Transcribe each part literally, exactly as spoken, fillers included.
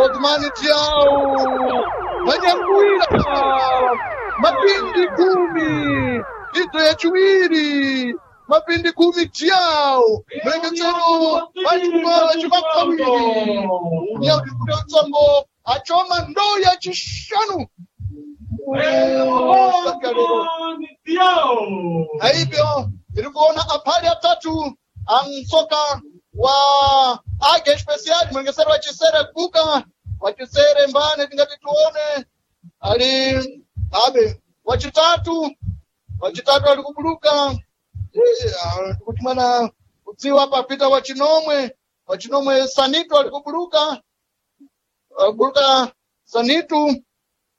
Othmani Diao vanyanguira mapindi kumi idzo yachiwiri mapindi kumi Diao mlengezero vachimakawiri yautsango achoma ndo yachishanu aibyo tiri kuona aphali atatu amsoka wa age especial mwengesero wachisere kuka wachisere mbane tingati tuone ali abe wachitatu wachitatu ali kubuluka Eh, ah, kuti mwana kudziwa papita wachinomwe wachinomwe sanito ali kubuluka buluka sanitu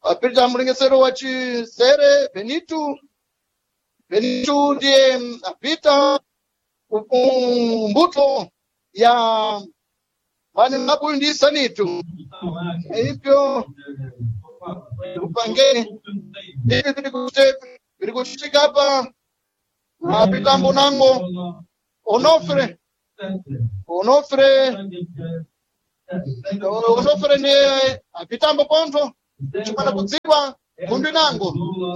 apita mlengesero wachisere benitu benitu ndiye mm, apita ku- mbuto ya vane mabuyu ndi sanitu ipyo upangeni ivi viri kute- viri kuchitika apa apitambo nango onofre onofre onofre ndiye apitambo pontho chimwana kudziwa nkhondo inango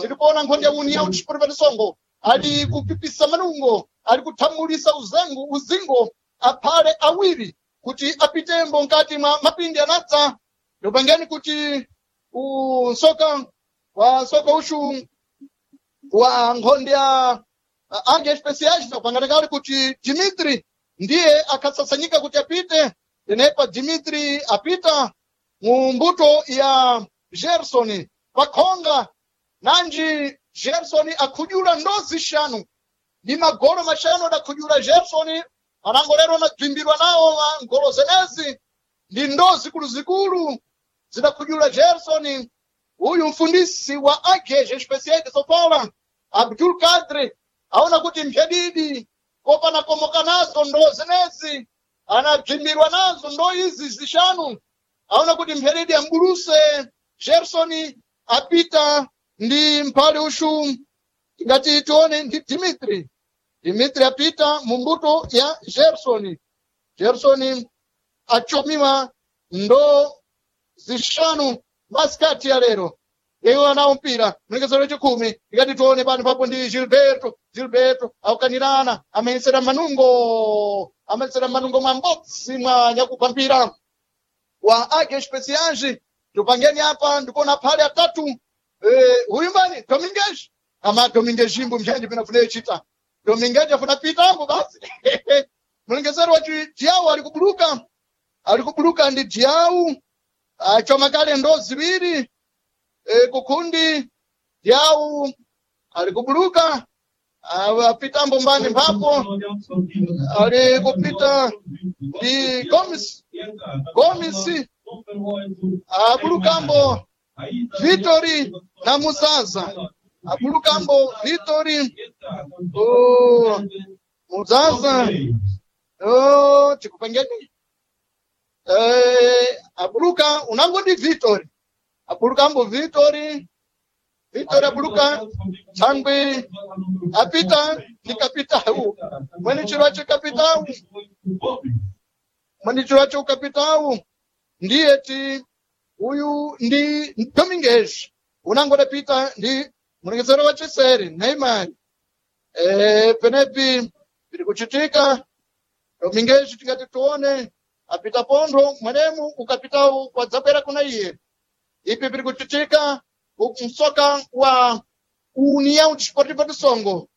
tiri kuona nkhondo ya união desportiva de songo ali kupipisa manungo ali kuthamulisa uzengu uzingo aphale awiri kuti apitembo mkati mwa mapindi anadza ndopangeni kuti unsoka wa nsoka ushu wa nkhondo ya age especiais tapangana kale kuti dimitri ndiye akhasasanyika kuti apite tenepa dimitri apita mu mbuto ya gerson pakhonga nanji gerson akhudyula ndozi xanu ndi magolo maxanu adakhudyula gerson anango lero anabvimbirwa nawo ma ngolo zenezi ndi ndo zikuluzikulu zidakhudyula gerson uyu mfundisi wa ageje especial de sofala abdul kadre aona kuti mphedidi kopana komoka nazo ndo zenezi anabvimbirwa nazo ndo izi zixanu aona kuti mphedidi ambuluse gerson apita ndi mphale ushu ngati tione ndi dimitri dimitri apita mu mbuto ya gerson gerson achomiwa ndo zixanu masikati ya lero iwo anawo mpira mlengesero wechikumi ikati tione pano papo ndi gilberto gilberto aukanirana ameyesera manungo ameyesera manungo mwa mbodzi mwa nyakugwa mpira wa age especiais tupangeni apa ndikuona phale atatu eh, huyu mbani domingues ama domingues imbo mshanji pinafuna chita domingues afuna pitambo basi mlengesero wa jiau ali kubuluka ali kubuluka ndi jiau achoma kale ndo ziwiri e, kukundi jiau ali kubuluka ah, apitambo mbani mphapo ali kupita ndi gomes gomes abulukambo Vitori na Muzaza abulukambo Vitori oh, Muzaza oh, tikupangeni eh, abuluka unango ndi Vitori abulukambo Vitori Vitori abuluka thangwi apita ndi kapitau mwene chiro acho kapitau mwene chiro acho kapitau ndiye ti uyu ndi Domingues unangodapita ndi mulengezero wa chiseri Neymar eh, penepi piri kuchitika Domingues tingati tuone apita pontho mwenemu ukapitawu kwadzabwera kuna iye ipi piri kuchitika msoka wa União Desportiva do Songo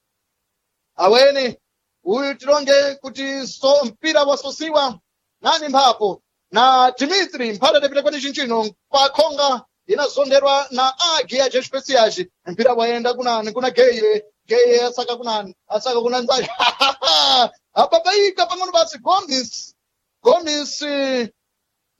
awene uyu tilonge kuti so mpira wasosiwa nani mphapo na Dimitri mphale adapita kwati chinchino pakhonga inazonderwa na agi ya especiais mpira wayenda kunani kuna geye geye asaka kunani asaka kuna nzayo ababaika pang'ono basi gomis gomis eh,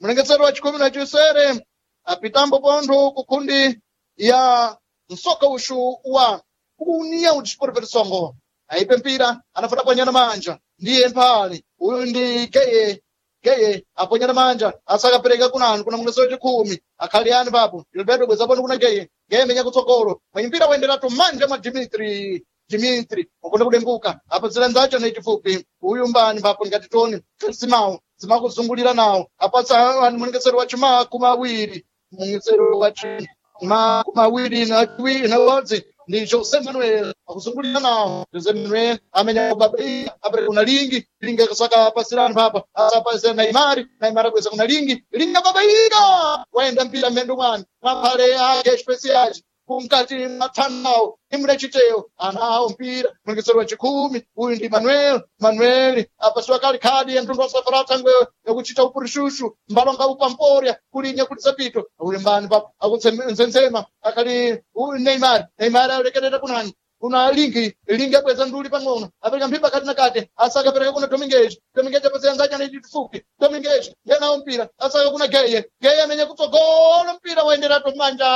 mlengezero wa chikumi na chisere apitambo pontho kukundi ya msoka ushu wa União Desportiva de Songo aipe mpira anafuna pwanyana manja ndiye mphale uyu ndi geye geye aponyana manja asakapereka kunani kuna mwengezo wachikumi akhali ani papo gilberto bwezaponi kuna geye geye menya kutsogolo mwenye mpira waenderatu manja mwa dimitri dimitri wakonda kudenguka apa zira nzacho nechifupi uyu mbani papo ngati toni simao Zimakuzungulira nawo apatsa munyengesero wa chimakumi awiri, munyengesero wa chimakumi awiri na chiwiri na umodzi ndi Jose Manuel akuzungulira nawo. Jose Manuel amene babai apereka kuna lingi lingi akasaka pasirani papa asapasira Neymar, Neymar akweza kuna lingi lingi ababaika waenda mpira mmendo mwani mwaphale ake especiais kumkati mathanao imre chiteyo anawo mpira mwengesero wa chikhumi. Uyu ndi Manuel. Manuel apasiwa kali khadi ya mtundu wa safara thangwe yakuchita upurishushu mbalonga upamporya kulinya kulizapito uli mbani papa akutsenzema akali uyu Neymar. Neymar alekerera kunani kuna lingi lingi abweza nduli pang'ono apereka mphimba kati na kati asaka apereka kuna Dominguez. Dominguez apasira nzake anaiti tufupi. Dominguez yenawo mpira asaka kuna Geye. Geye amenya kutsogolo mpira waenderatu manja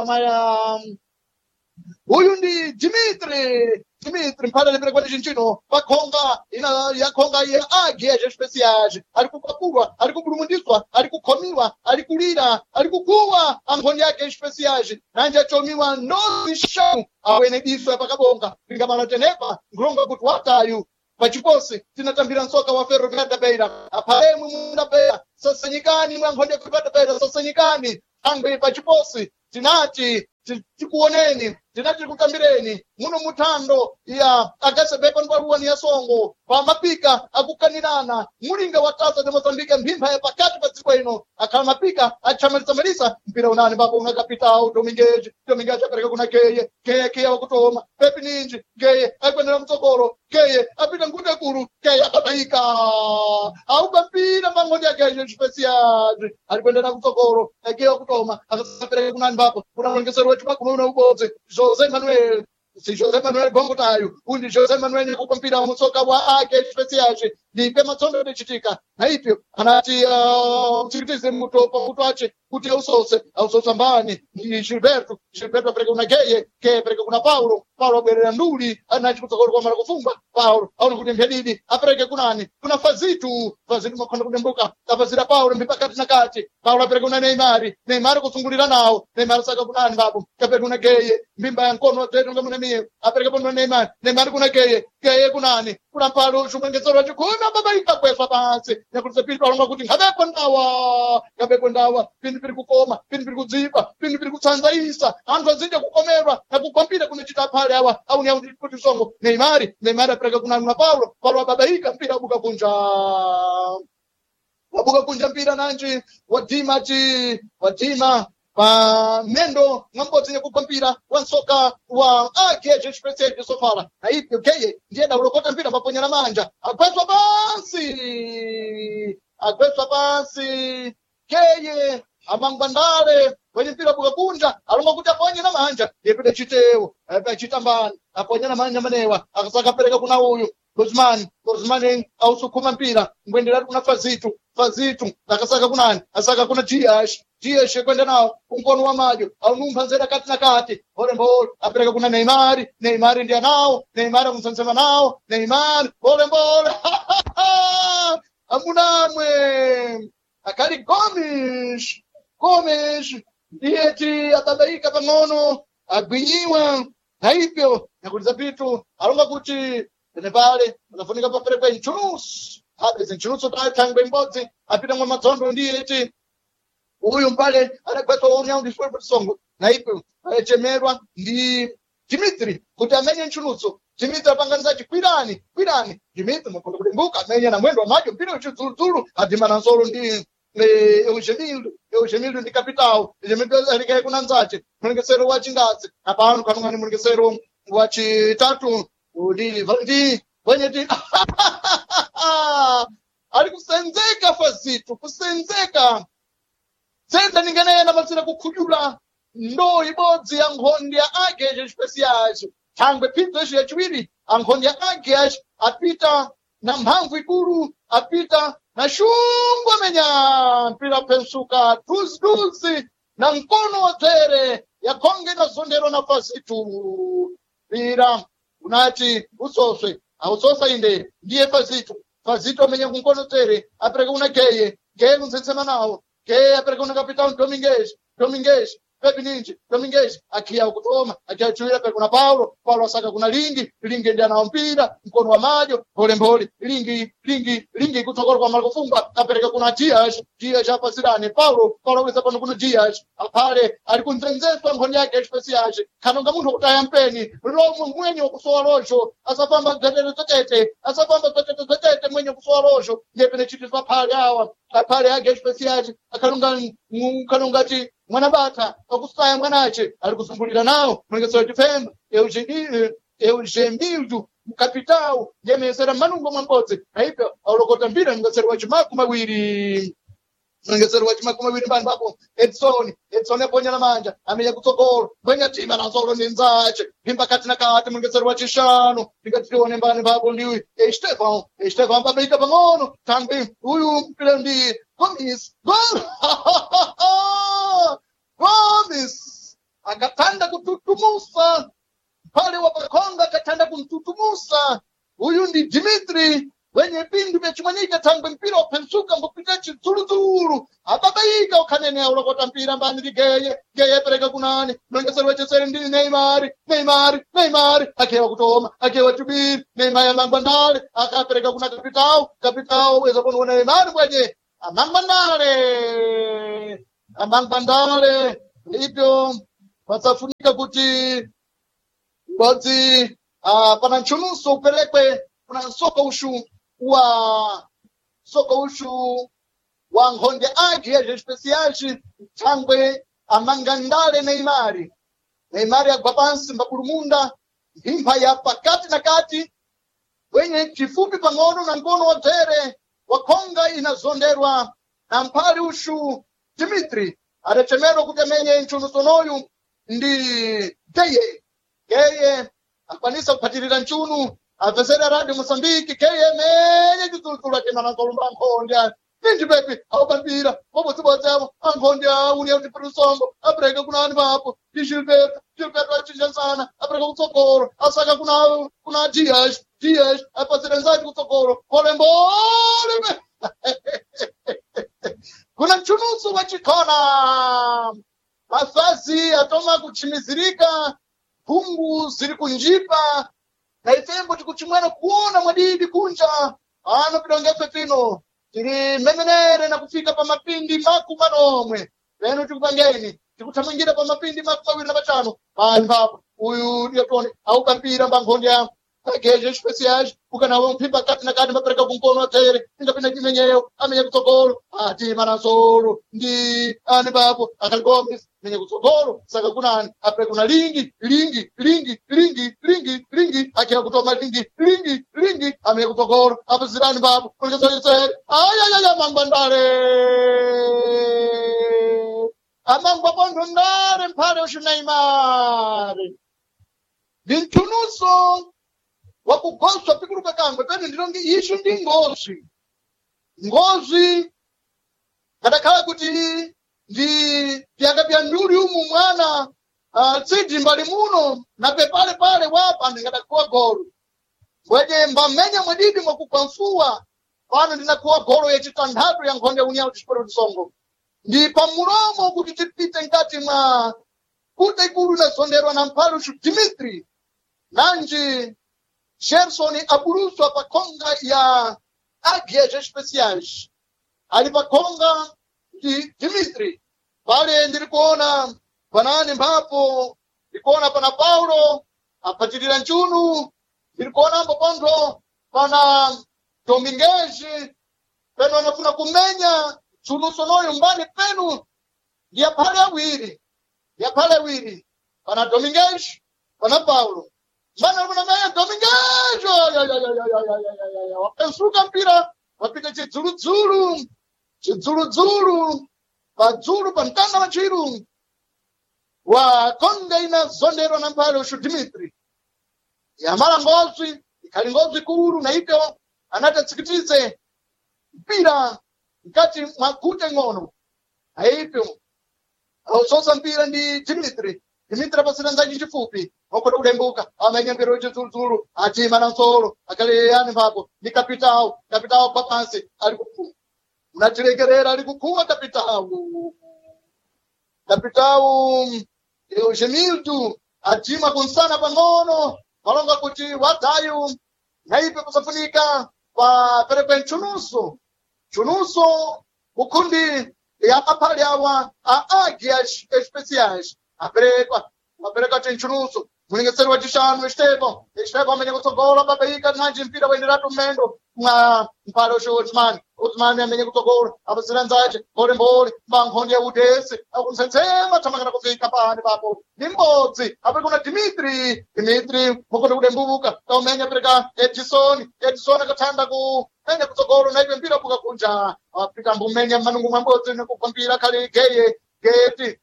maya uyu ndi Dimitri. Dimitri mphala lepera kwati chinchino pakhonga ina yakhonga ya agi ya especiais ari kukwapulwa, ari kupulumundiswa, ari kukhomiwa, ari kulira, ari kukuwa ankhoni yake especiais nanje achomiwa ndozi shanu awene diso pakabonga lingamala tenepa nkulonga kuti watayu pachiposi tinatambira msoka wa Ferroviário da Beira aphalemwe munda Beira sasanyikani mwa nkhoni ya Ferroviário da Beira sasanyikani angwe pachiposi tinati tikuoneni, tinati tikutambireni muno muthando ya akasebepa ndwaluwani ya songo pamapika akukanirana mulinga wa tasa de Mozambique mphimba ya pakati pa dziko ino akhala mapika achamalisamalisa mpira unani papo una kapitao Dominguez. Dominguez apereka kuna Geye. Geye kiya wakutoma pepi ninji Geye akwendera mtsogolo Geye apita ngute kulu Geye akabayika auba mpira mang'ondi ya Geye especial alikwendera kutsogolo Geye wakutoma akasapereka kunani papo kuna mwengesero wetu makumi una ubodzi Jose Manuel, si Jose Manuel Gongotayo uyu ndi Jose Manuel nyakupa mpira wa mutsoka wa ake especial ndipe matsondo ndichitika na ipyo anati uh, utsikitize muto pamutu ace kuti ausose ausosa mbani ndi Gilberto. Gilberto apereka kuna Geye. Geye apereka kuna Paulo. Paulo abwerera nduli anachi kutsogolo kwa mara kufumba Paulo aona kuti mphedidi apereke kunani kuna Fazitu. Fazitu makhonda kudembuka apazira Paulo mbi pakati na kati Paulo apereka kuna Neymar. Neymar kusungulira nawo Neymar saka kunani babu kapereka kuna Geye mbimba ya nkono zetu ngamuna miye apereka kuna Neymar. Neymar kuna Geye. Geye kunani kuna Paulo shumengezero chikumi baba ikakweswa pansi nyakulisa pindu alonga kuti ngabekwe ndawa ngabekwe ndawa pindu piri kukoma pindu piri kudzipa pindu piri kutsanzaisa anthu azinja kukomerwa na kukwambira kunechita aphale awa auni auni kuti songo Neymar. Neymar apereka kuna kuna Paulo. Paulo ababaika mpira wabuka kunja wabuka kunja mpira nanji wadima chi wadima pa mendo ng'ambodzi nyakugwa mpira wa nsoka wa ageje express sofala na ipyo Geye ndiye dawulokota mpira maponyera manja agweswa pansi agweswa pansi Geye amangwandale wenye mpira wabuka kunja alonga kuti aponye na manja ndiye chitewo chitambani aponye na manja manewa akasaka apereka kuna uyu Guzman. Guzman ausukuma mpira ngwenderatu kuna Fazitu. Fazitu akasaka kunani asaka kuna Dias. Dias kwenda nawo kumkono wa madyo aunumpha nzera kati na kati olembole apereka kuna Neymar. Neymar ndiye nawo Neymar akumsansema nawo Neymar olembole amunamwe akali Gomes. Gomes ndiye ti ababaika pang'ono agwinyiwa na ipyo nyakuliza pitu alonga kuti tenepale pakafunika paperekwe nchunusu apeze nchunusu tathangwe imbodzi apita mwa madzondo ndiye ti uyu mpale adagwetwa waunyaundisweposongo na ipyo achemerwa ndi Dimitri kuti amenye nchunutso. Dimitri apanganiza chikwirani kwirani Dimitri makonda kudimbuka amenya na mwendo wa madyo mpira uchidzuludzulu adhimana nsolo ndi Eugenildo. Eugenildo ndi kapitao. Eugenildo alikaye kuna nzache mulengesero wa chingazi apano kanungani mulengesero wa chitatu uli ndi wenyeti ari kusenzeka Fazitu kusenzeka tsenda ninganena masira kukhudula ndo ibodzi ya nkhondi ya ageje especiais thangwe phidzo ici yachiwiri ankhondi ya ageje apita na mphamvu ikulu apita na shungu amenya mpira pensuka duziduzi na mkono wa dzere yakhonge na zondero na Fazitu mpira unati usoswe ausosa inde ndiye Fazitu. Fazitu amenya kunkono tere apereka kuna Geye. Geye kunsensema nawo Geye apereka kuna Capitão Dominguez. Dominguez Pepi ninji Dominguez akia kutoma akiachuira pe kuna Paulo Paulo asaka kuna Lingi Lingi ndiye anao mpira mkono wa majo pole mpole Lingi Lingi Lingi kutsogolo kwa Marco Fumba apereka kuna Dias Dias apasirani Paulo Paulo weza pano kuna Dias apale ali kunzenzeswa nkhoni yake especial kanonga munthu kutaya mpeni lomo mwenye wakusowa lojo asapamba dzatete dzatete asapamba dzatete dzatete mwenye kusowa lojo ndiye pene chitizwa phale awa aphale ake especial akalonga kalongati mwana bata akusaya mwanache ali kuzumbulira nawo mwengesero chifemba eugembildu mkapitao yemesera manungo mwambodzi naipyo aulokota mbira mngesero wa chimaku mawiri mngesero wa chimaku mawiri mbani papo Edson Edson aponya na manja amenya kutsogolo mbwenya tima na ni nzache pimba kati na kati mngesero wa chishanu ndingatione mbani papo ndi Estevão Estevão pabeika pang'ono tangwi uyu mpira ndi Gomes gol Gomes akatanda kututumusa pale wapakonga akatanda kumtutumusa uyu ndi Dimitri wenye pindu vyachimanyika thangwe mpira waphensuka mbupita chidzuludzulu ababaika ukhanene aulokota mpira mbani ligeye geye pereka kunani mlongeseri wecheseri ndi Neymar Neymar Neymar akewa kutoma akewa chubiri Neymar amangwa ndale akapereka kuna kapitao kapitao weza kunoona Neymar mwenye amangwa ndale amangwa ndale ibyo pasafunika kuti mbodzi uh, pana nchunuso uperekwe kuna nsoko ushu wa soko ushu wa nkhonde ake ya especiais thangwe amangandale Neymar Neymar agwa pansi mbapulumunda mphimba ya pakati na kati wenye chifupi pang'ono na mkono wa dzere wakhonga inazonderwa na mphali ushu Dimitri adachemerwa kuti amenye nchunusonoyu ndi Geye Geye akwanisa kuphatirira nchunu apesera radio Mozambique Geye menye chidzuludzulu achemanazolumba nkhonde ninji pepi awupambira bobodzibodzi avo ankhonde auniya kuti piri apereka kuna ani papo ndi Gilberto Gilberto achinjasana apereka kutsogolo asaka kuna kuna Dias Dias apasira nzati kutsogolo polembole kuna mchunuso wa chikhona mafazi atoma kuchimizirika mphungu ziri kunjipa na ifembo tikuchimwena kuona mwadidi kunja ano pidongefe pino tiri memenere na kufika pa mapindi maku manomwe leno tikupangeni tikuthamangira pa mapindi maku mawiri na matano pani papo uyu ndiyatone aukampira mbankhonde yamo ageje especiais ukanawo mphimba kati na kati mapereka kumkono atere ingapinda chimenyeyo amenye kutsogolo ati manasolo ndi ani papo akali Gomes menye kutsogolo saka kunani apre kuna lingi lingi lingi lingi lingi lingi akira kutoma lingi lingi lingi amenye kutsogolo apo zirani papo kulikezere ayayaya mangwandale amangwa pontho ndale mphale ushunaimare ndi mchunuso wakugoswa pikuluka kangwe pene ndilonge isu ndi ngozi ngozi kadakhala kuti ndi pyaka pya nduli umu mwana uh, tsidi mbali muno na pepale pale wapa ndingadakhuwa golo mbwenye mbamenya mwadidi mwakugwa mfuwa pano ndinakhuwa golo yachitanthatu ya nkhonde unyawo tichipero tisongo ndi pamulomo kuti tipite mkati mwa kuta ikulu inasonderwa na mphaluxu Dimitri nanji Gerson abuluswa pa khonga ya Águias Especiais ali pa khonga ndi Dimitri pale ndiri kuona panani mphapo ndikuona pana Paulo aphatirira nchunu ndiri kuonambo pontho pana Dominguez penu anafuna kumenya nchunusonoyo mbani penu ndi aphale awiri ndi aphale awiri pana Dominguez pana Paulo mbani alikuona menya Dominguez wapensuka mpira wapita chidzuludzulu chidzuludzulu padzulu pa mtanda wa chiru wa konga inazonderwa na mphale ushu Dimitri yamala ngozi ikhali ngozi kulu na ipyo anati mpira mkati mwa gute ng'ono aipyo ausosa mpira ndi Dimitri Dimitri apasira nzachi chifupi okoda kulembuka amenya mpira wechidzuludzulu atima na nsolo akale yani mphapo ndi kapitawo kapitawo kwa pansi ali kukhuwa unatilekerera ali kukhuwa kapitawo Kapitau Gemildo atima kunsana pang'ono malonga kuti wadayu naipe kusafunika pa perekwe nchunuso nchunuso kukundi ya aphale awa a águias especiais aperekwa apereka tinchunuso mulingeseri wa chishanu Estevo Estevo amene kutsogola babaika nanji mpira waenderatu mmendo mwa mphale ushe Osman Osman amene kutsogola apasira nzace mbolimboli mbankhonde ya udesi akumsensema thamangana kufika pani papo ni mbodzi apereka kuna Dimitri Dimitri mukonde kudembuka kaumenya apereka Edison Edison akathanda ku menya kutsogolo naipe mpira buka kunja apita mbumenya manungu mwa mbodzi nekugwa mpira khali geye geti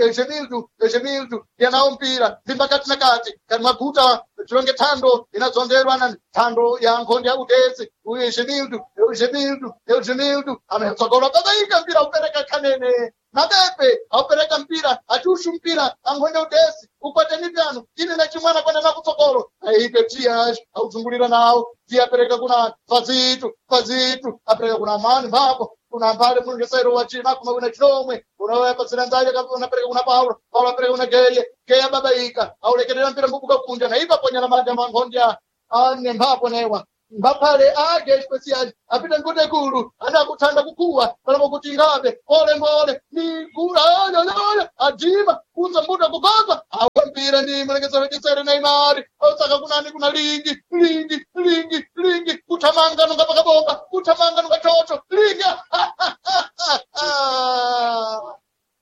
Egemildo Egemildo yanawo mpira ndi pakati na kati kati maguta chilonge thando inadzonderwa na thando ya nkhonde ya udesi uyu Egemildo Egemildo Egemildo ametsogola babaika mpira upereka khanene napepe aupereka mpira atushu mpira ankhonde udesi ukwateni pyano ine na chimwana kwenda na kutsogolo aipe tias auzungulira nawo tiye apereka kuna fazitu fazitu apereka kuna mani mpapo kuna mbale mulungesero wa chima kuma kuna chinomwe unaoya pasina nzaje unapereka kuna Paulo Paulo apereka kuna Geye Geye babaika aulekerera mpira mbubuka kunja na ipa ponya na manja manghondya ane mphapo newa mbaphale age especial apita ngute kulu anakuthanda kukuwa palapo kuti ngabe ole mbole ni kula ole ole ajima kunza mbuta kukoza awe mpira ndi mulekesero chisere na imari osaka kunani kuna lingi lingi lingi lingi kuthamanga nunga pakabomba kuthamanga nunga chocho lingi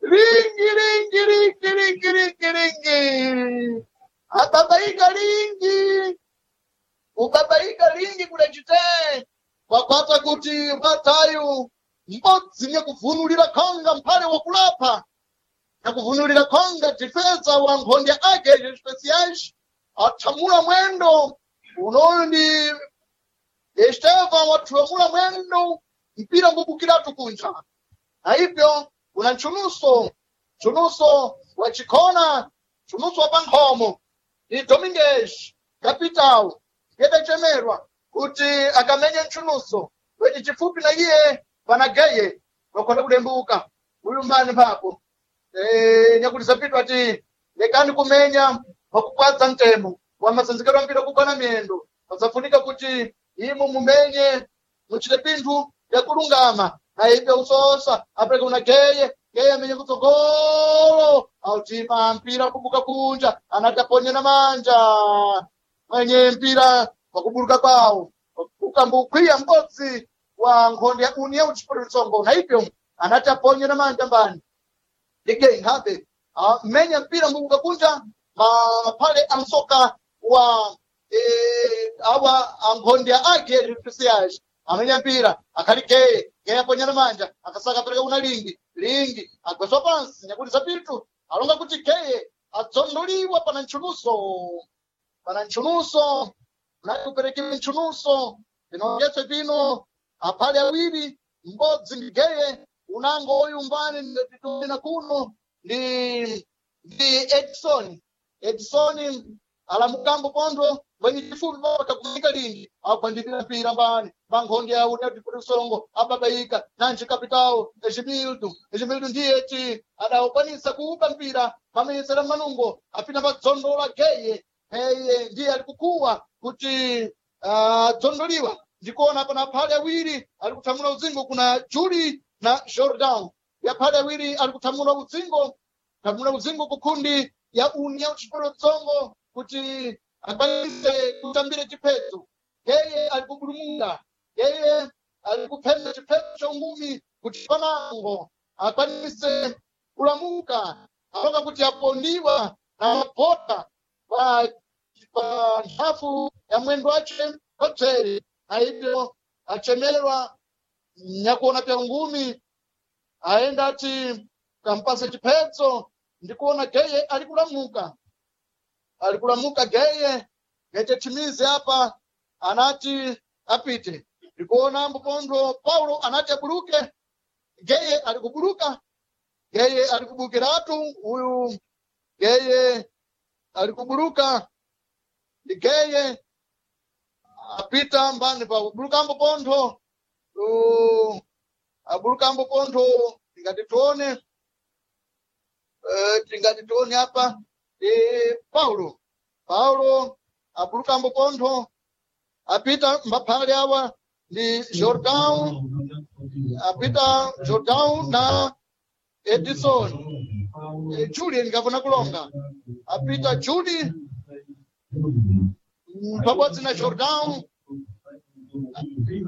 lingi lingi lingi lingi lingi lingi ababaika lingi ubabaika lingi kudachite wakwata kuti watayu mbodzi nyakuvunulira khonga mphale wakulapha nyakuvunulira khonga difensa wa nkhonde ake especiais athamula mwendo unoyu ndi Estevan wathamula mwendo mpira ngubukiratu kunja na ibyo kuna nchunuso nchunuso wa chikhona nchunuso wa pankhomo ndi Domingues capital yedachemerwa kuti akamenye nchunuso kwechi chifupi na iye panageye wakhona kudembuka uyu mbani papo e, nyakuti zapitwa ati lekani kumenya wakukwadza mtemo wamasanzikidwa mpira kugwana miyendo pasafunika kuti imo mumenye muchite pinthu yakulungama na ibe usosa apereka kuna geye geye amenye kutsogolo autima mpira kubuka kunja anati aponye na manja mwenye mpira wakuburuka kwawo ukambukwiya m'bodzi wa nkhonde ya união desportiva songo na ibyo anati aponye na manja mbani ligei nkhabe mmenya mpira mbubuka kunja maphale amsoka wa eh, awa ankhonde ake especiais amenya mpira akhali geye geye aponya na manja akasaka apereka kuna lingi lingi agweswa pansi nyakuti zapitu alonga kuti geye adzondoliwa pana nchuluso pana nchunuso nakuperekiwe nchunuso vinongetswe pino aphale awiri m'bodzi ndi geye unango uyu mbani nditina kuno ndi ndi Edison Edison alamukambo pondo mwenye chifupi paka kumika lingi akwandikira mpira mbani bankhonde ya unatiputisongo ababaika nanji kapitao Egimildo Egimildo ndiye ti adawukwanisa kuupa mpira pameyesera manungo apita padzondola geye eye ndiye ali kukuwa kuti adzondoliwa uh, ndikuona pana phale awiri ali kuthamula uzingo kuna Juli na Jordan ya phale awiri ali kuthamula uzingo kuthamula uzingo kukhundi ya União Desportiva Tsongo kuti akwanise kutambira chiphedzo yeye ali kubulumuka yeye ali kuphemba chiphedzo cha ungumi kuti panango akwanise kulamuka alonga kuti apondiwa na mapota pa pa nthafu ya mwendo wace wapseri aibyo achemerwa nyakuona pya ngumi aenda ati kampase chiphedzo ndikuona geye ali kulamuka ali kulamuka geye ngechetimize apa anati apite ndikuona mbupondo paulo anati abuluke geye ali kubuluka geye ali kubukiratu uyu geye ali kubuluka ndi geye apita mbani pa kubulukambo pontho uh, abulukambo pontho ngati tione eh, tingati tione apa ndi Paulo. Paulo abulukambo pontho apita mbaphale awa ndi Jordan, apita Jordan na Edison. Eh, Julie ngafuna kulonga apita Julie mm, pabodzi na Jordan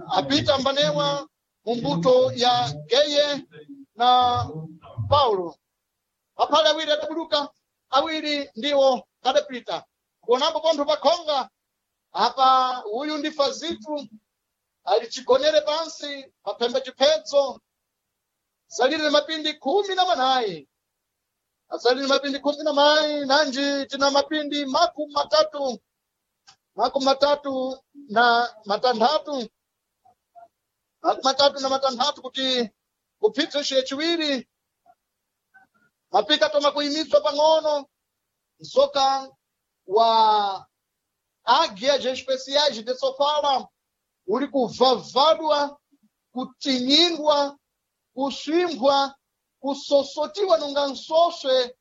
apita mbanewa mumbuto ya Geye na Paulo. Aphale awiri adabuluka awiri ndiwo adapita kuonapo pontho pakhonga apa uyu ndi Fazitu ali chigonere pansi paphembe chiphedzo salire mapindi khumi na manayi asalire mapindi khumi na manayi nanji tina mapindi makumi matatu makumi matatu na matanthatu makumi matatu na matanthatu kuti kuphidzo chiwiri mapika toma kuyimiswa pang'ono msoka wa águias especiais de Sofala uri kuvhavhadwa kutinyindwa kuswimbwa kusosotiwa nonga nsoswe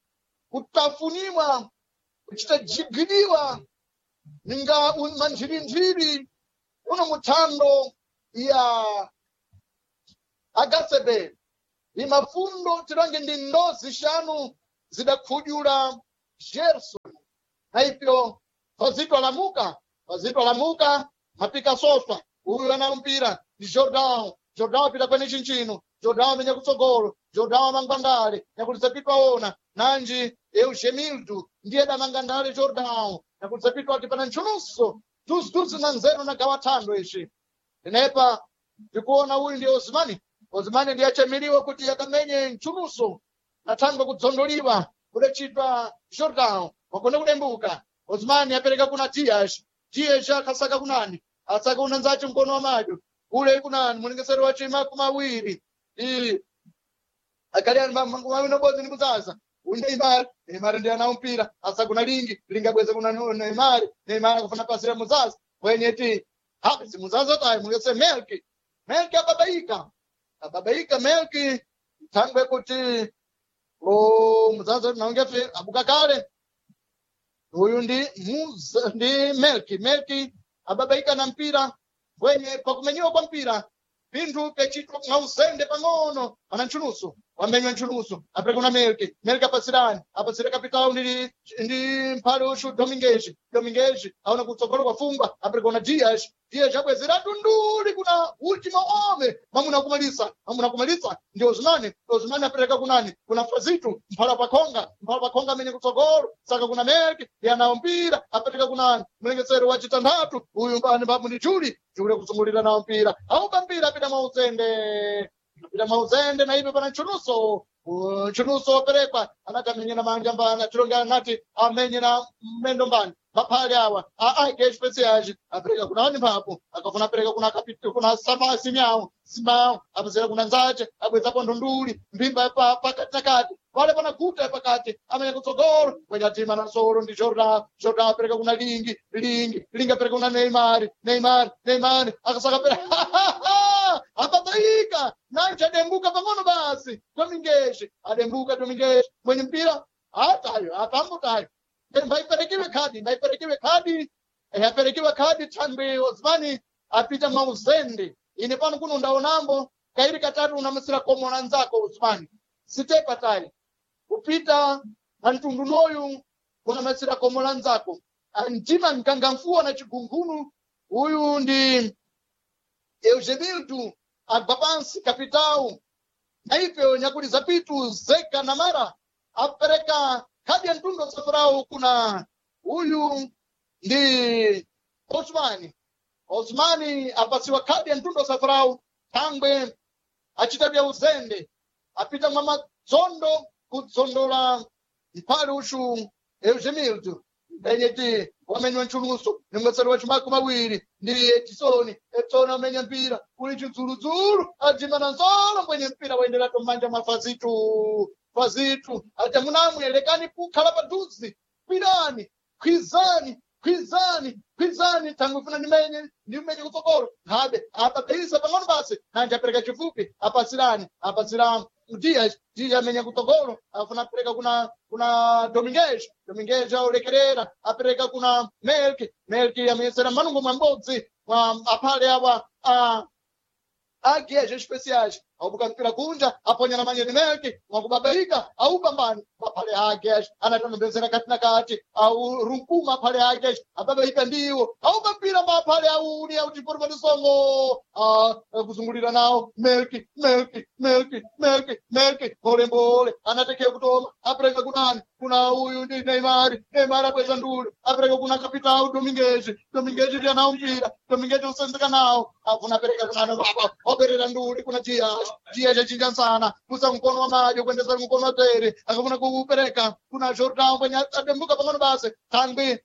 kutafuniwa kuchita jigiriwa ninga un- manjirinjiri uno muthando ya agasebe imafundo tilange ndi ndozi xanu zidakhudyula Gerson na ipyo fazito alamuka fazito alamuka mapika soswa uyu ana mpira ndi Jordan. Jordan apita kwene chinchino Jordan amenya kutsogolo Jordan amangwandale nyakulisa pitwa ona nanji Eugemildo ndiye damangandale Jordan nyakulisa pitwa ati pana ntchununso tuzi na nzeru na gawa thando ici inepa ndikuona uyu ndi Osmani. Osmani ndiye achemeriwa kuti akamenye ntchunuso nathangwe kudzondoliwa kudachitwa Jordan wakone kudembuka Osmani apereka kuna Dias. Dias akasaka kunani asaka unanzace mkono wa madyo ule kunani mulingeseri wa chima kumawiri i akali ani mawiri nobodzi ndi kuzaza uyu Neymar. Neymar ndiye anawo mpira asakuna lingi lingi abweze kuna Neymar. Neymar akufuna pasira muzaza mwenyeti hapi muzaza tayi mulingese Melki. Melki ababaika ababaika Melki thangwe kuti o muzaza naongefe abuka kale uyu ndi Muza, ndi Melki. Melki ababaika na mpira wenye pakumenyiwa kwa mpira pinthu pechitwa mwausende pang'ono pana ntchuluso wamenywa ntchuluso apereka kuna Melki. Melki apasirani apasire kapitao ndi ndi mphale uxu Domingues. Domingues aona kutsogolo kwafungwa apereka kuna Dias. Dias abwezera tunduli kuna ultimo ome mamuna kumalisa mamuna kumalisa ndi Osmani. Osmani apereka kunani kuna Fazitu mphala pakhonga mphala pakhonga amene kutsogolo saka kuna Melki yanawo mpira apereka kunani mlengesero wa chitanthatu uyu mbani mbamu ndi Juli. Juli kusungulira nawo mpira aupa mpira apita mwauzende apita mwauzende na ipe pana ntchunuso ntchunuso waperekwa anati amenye na manja mbani tilonge anati amenye na mmendo mbani maphale awa aaike especiais apereka kuna ani mphapo akafuna apereka kuna kapit- kuna sama simyawo simawo apezera kuna nzace abwezapo ndunduli mphimba pa pakati na kati pale pana guta pakati amenya kutsogolo kwenyatima na solo ndi Jordan. Jordan apereka kuna lingi lingi lingi apereka kuna Neymar. Neymar Neymar akasaka pera ababaika nanje adembuka pang'ono basi Domingues adembuka Domingues mwenye mpira atayo apambutayo mbaiperekiwe khadi mbaiperekiwe khadi eh, aperekiwe khadi thangwe Osmani apita mauzende ine pano kuno ndaonambo kairi katatu unamasira komona nzako Osmani sitepa tayi kupita pamtundu noyu unamasira komola nzako mtima mkangamfuwa na chigungunu uyu ndi Eugenildo agwa pansi kapitao na ipyo nyakuli zapitu zeka na mara apereka khadi ya mtundu wa safurau kuna uyu ndi Osmani. Osmani apasiwa khadi ya mtundu wa safurau thangwe achita bya uzende apita mwa madzondo kudzondola mphale uxu Eugenildo enyeti wamenywa ntchuluso nimweseri wa chimako mawiri ndi Edisoni. Edisoni amenya mpira uli chidzuludzulu ajima na nzolo mwenye mpira waenderatu mmanja mwa Fazitu. Fazitu ati munamwe lekani kukhala padhuze kwirani kwizani kwizani kwizani tangu funa ndimenye ndimenye kutsogolo nkhabe apaphisa pang'ono basi nanje apereka chifupi apasirani apasira Dias. Dias amenya kutogolo afuna apereka kuna kuna Dominguez. Dominguez aulekerera apereka kuna Melki. Melki amenyesera manungo mwambodzi mwa aphale awa a agias especiais aubuka mpira kunja aponya na manyeni Melki mwakubabaika aupambani maphale agias anatanombezera kati na kati au runkuma aphale agias ababaika ndiwo aupa mpira maphale auni auchiporipati-songo kuzungulira nawo Melki Melki Melki Melki Melki mbole anatekea kutoma apereka kunani kuna uyu ndi Neymar. Neymar abweza ndule apereka kuna Capitão Dominguez. Dominguez ndiye nawo mpira. Dominguez usenzeka nawo afuna apereka kunani baba operera ndule kuna Dias. Dias achinja sana kusa mkono wa madyo kuendesa mkono wa tere akafuna kuupereka kuna Jordan kwenye adembuka pang'ono basi tangwi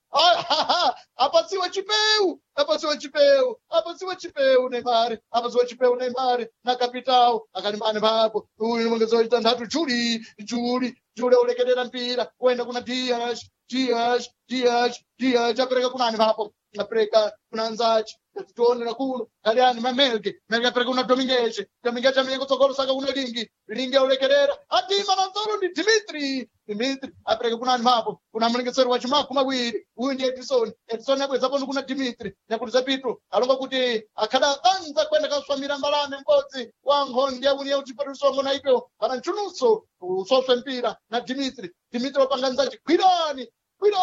apatsiwe chipeu apatsiwe chipeu apatsiwe chipeu Neymar apatsiwe chipeu Neymar na Capitão akalimbane papo uyu mwongezo wa chitanthatu Juli Juli Juli aulekerera mpira kuenda kuna Dias Dias Dias Dias apereka kunani papo apereka kuna Nzachi tionera kuno kaliani mamelke melke apereka kuna Dominguez. Dominguez amenya kutsogolo saka kuna Lingi. Lingi aulekerera atima na nzoro ndi Dimitri. Dimitri apereka kunani papo kuna mlengeseri wa chimaku mawiri uyu ndi Edison. Edison abweza pano kuna Dimitri nyakuti Petro alonga kuti akhala anza kwenda kaswamira mbalame m'bodzi wa nkhondi yauni yauchipatisongo na ipyo pana mchunutso usoswe mpira na Dimitri. Dimitri wapanga nzachi gwirani gwirani.